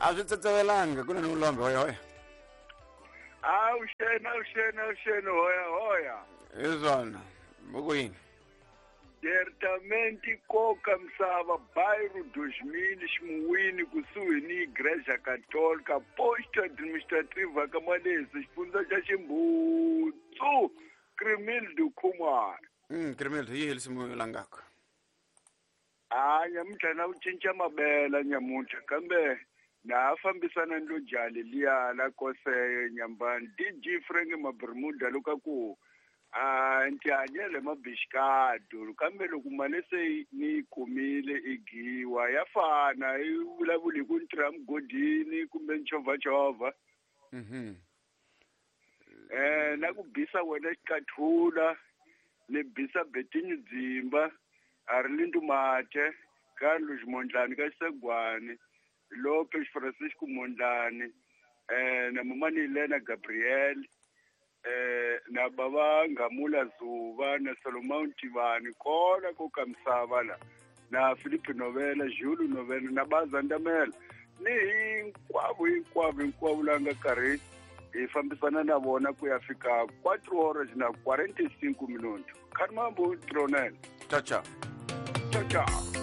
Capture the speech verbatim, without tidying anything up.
A swi tsetsevelanga ku na ni vulombe hoya hoya. Avuxeni, avuxeni, avuxeni, hoya hoya. Hi swona buku yini? Diretamente koka misava bairro dois mil Ximuwini kusuhi ni Igreja Católica posto administrativa ka Malezi xifundza xa Ximbutsu Crimildo Khumalo. Mm, Crimildo yi helisimu langaka. A nyamuntlha na ku cinca mabela nyamuntlha kambe na ha fambisana ni lo jali liya la koseye nyambani D G Frank Mabermuda loko ku a ntihanyele mabixikado kambe loko mali se ni yi kumile i giwa ya fana yi vulavuli hi ku ni tirha mugodini kumbe nchovhachovha. Mhm. Eh na ku bisa wena xikathula ni bisa Betinyu Dzimba a ri Lindu Mathe Carlos Mondlane ka Xisegwani Lopez Francisco Mondlane eh na Mamani Lena Gabriel eh na baba Ngamula Zuba na Solomon Tivani kona ko ka misava la na Philippe Novela Jules Novela na Bazandamela ni hinkwavo hinkwavo hinkwavo la nga karhi hi fambisana na vona ku ya fika quatro horas na quarenta e cinco minutos. Carmambo Tronel. Ciao ciao. Ciao ciao.